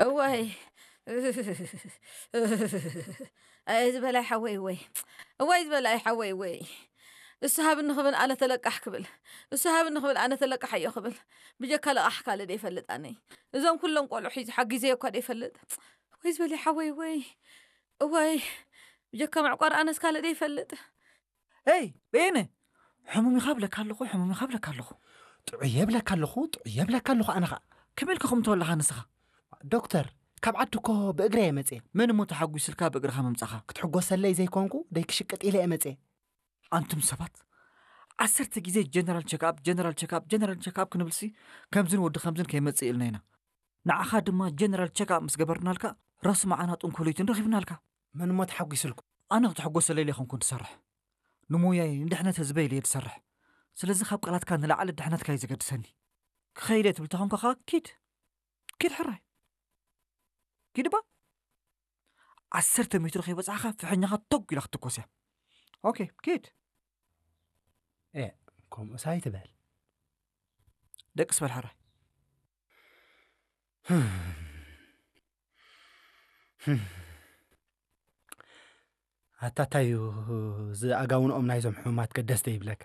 እዋይ፣ ኣይ ዝበላይ ሓወይ ወይ፣ እዋይ ዝበላይ ሓወይ ወይ። እሱ ሃብኒ ክብል ኣነ ተለቃሕ ክብል፣ እሱ ሃብኒ ክብል ኣነ ተለቃሕ እዮ ክብል፣ ብጀካ ለቃሕ ካልእ ደይፈልጥ ኣነይ። እዞም ኩሎም ቆልዑ ሒዙ ሓጊዘዮ እኳ ደይፈልጥ። ወይ ዝበላይ ሓወይ ወይ፣ እዋይ፣ ብጀካ መዕቋር ኣነስ ካልእ ደይፈልጥ። ኤይ በየነ፣ ሕሙም ኢኻ ብለካ ኣለኹ፣ ሕሙም ኢኻ ብለካ ኣለኹ። ጥዑየ ብለካ ኣለኹ፣ ጥዑየ ብለካ ኣለኹ። ኣነ ኸዓ ከመይ ኢልካ ከምኡ ትበልኻ ንስኻ? ዶክተር፣ ካብ ዓዲ እኮ ብእግረ እየ መፅየ። መን እሞ ተሓጒስልካ ብእግርኻ ምምፃኻ? ክትሕጎሰለይ ዘይኮንኩ ደይ ክሽቅጥ ኢለ እየ መፅየ። ኣንቱም ሰባት፣ ዓሰርተ ግዜ ጀነራል ቸክኣፕ፣ ጀነራል ቸክኣፕ፣ ጀነራል ቸክኣፕ ክንብልሲ ከምዝን ወዲ ከምዝን ከይመፅእ ኢልና ኢና። ንዓኻ ድማ ጀነራል ቸክኣፕ ምስ ገበርናልካ ራሱ መዓና ጥንኮለይትን ረኺብናልካ። መን እሞ ተሓጒስልኩ? ኣነ ክትሕጎሰለይ ዘይኮንኩ ዝሰርሕ፣ ንሞያይ ንድሕነት ህዝበይ ኢለ እየ ዝሰርሕ። ስለዚ ካብ ቃላትካ ንላዕሊ ድሕነትካ እዩ ዘገድሰኒ። ክኸይደ ትብል ተኾንካ ኸዓ ኪድ፣ ኪድ ሕራይ፣ ኪድ ባ። ዓሰርተ ሜትሮ ከይበጻሕካ ፍሕኛኻ ቶግ ኢላ ክትትኮስ እያ። ኦኬ፣ ኪድ። ኤ፣ ከምኡስ ኣይትበል። ደቅስ በል ሕራይ። ኣታ እንታይ እዩ እዚ ኣጋውንኦም ናይዞም ሕሙማት ከ ደስ ዘይብለካ?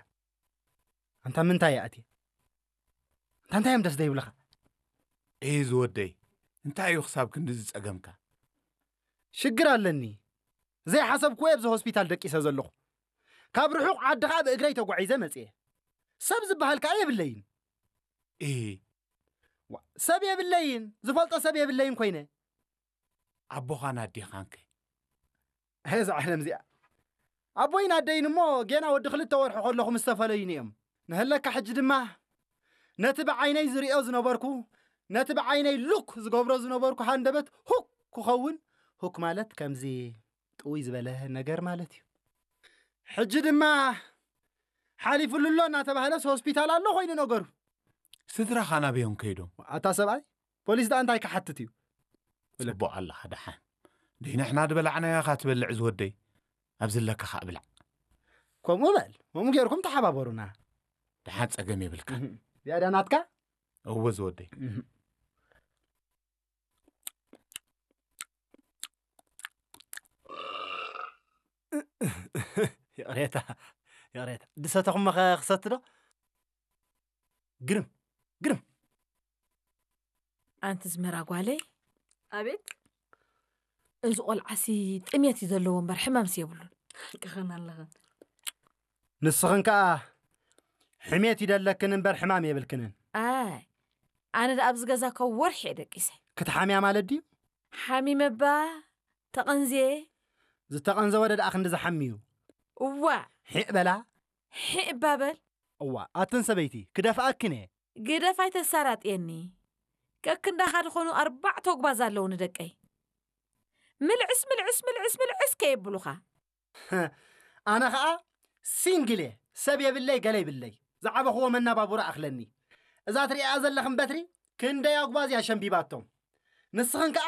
ኣንታ ምንታይ እያ ኣትየ? ኣንታ እንታይ እዮም ደስ ዘይብለኻ? እይ ዝወደይ፣ እንታይ እዩ ክሳብ ክንዲ ዝጸገምካ? ሽግር ኣለኒ። ዘይሓሰብክዎ ኣብዚ ሆስፒታል ደቂሰ ዘለኹ። ካብ ርሑቕ ዓዲ ኸኣ ብእግረይ ተጓዒዘ መጽየ። ሰብ ዝበሃል ከኣ የብለይን። እህ ዋ፣ ሰብ የብለይን፣ ዝፈልጦ ሰብ የብለይን ኮይነ። ኣቦኻን ኣዴኻንከ? እዛ ዓለም እዚኣ ኣቦይን ኣደይን እሞ ጌና ወዲ ክልተ ወርሒ ከለኹ ምስ ተፈለዩኒ እዮም። ንህለካ ሕጂ ድማ ነቲ ብዓይነይ ዝርእዮ ዝነበርኩ፣ ነቲ ብዓይነይ ሉክ ዝገብሮ ዝነበርኩ ሃንደበት ሁክ ክኸውን፣ ሁክ ማለት ከምዚ ጥውይ ዝበለ ነገር ማለት እዩ። ሕጂ ድማ ሓሊፉሉ ኣሎ እናተባህለስ ሆስፒታል ኣሎ ኮይኑ ነገሩ። ስድራኻ ናበዮም ከይዶም? ኣታ ሰብኣይ፣ ፖሊስ ደኣ እንታይ ክሓትት እዩ? ጽቡቕ ኣለኻ ደሓን። ደይ ንሕና ዝበላዕናዮ ኢኻ ትበልዕ ዝወደይ። ኣብ ዝለካ ኸኣ ብላዕ። ከምኡ በል፣ ከምኡ ጌርኩም ተሓባበሩና። ደሓን ጸገም የብልካ። እህም። ዝያዳ ናትካ? እወ ዝወደይ። እህም። ይቕሬታ፣ ይቕሬታ። ድሰተኹም መኸ ክሰቲ ዶ? ግርም፣ ግርም። ኣንቲ ዝመራ ጓለይ፣ ኣቤት። እዚ ቆልዓሲ ጥሜት እዩ ዘለዎ እምበር ሕማምስ የብሉን። ክኸን ኣለኽን። ንስኽን ከኣ ሕሜት ይደለክን እምበር ሕማም የብልክንን። ኣይ፣ ኣነ ደኣ ኣብዚ ገዛ ካብ ወርሒ እየ ደቂሰ። ክትሓምያ ማለት ድዩ? ሓሚመ እባ ተቐንዝየ። ዝተቐንዘወ ደኣ ክንዲ ዝሓምዩ። እዋ፣ ሒእ በላ። ሒእ እባ በል። እዋ፣ ኣትን ሰበይቲ፣ ክደፍኣክን እየ። ግደፍ ኣይተሳራጥየኒ። ከክንዳኻ ዝኾኑ ኣርባዕተ ኣጉባዝ ኣለዉ ንደቀይ። ምልዕስ፣ ምልዕስ፣ ምልዕስ፣ ምልዕስ ከየብሉኻ። ኣነ ኸኣ ሲንግል እየ። ሰብ የብለይ፣ ገለ ይብለይ። ዝዓበኽዎ መናባቡራ ኣኽለኒ። እዛ ትሪኣ ዘለኽን በትሪ ክንደይ ኣጉባዝ እያ ሸምቢባቶም። ንስኽን ከኣ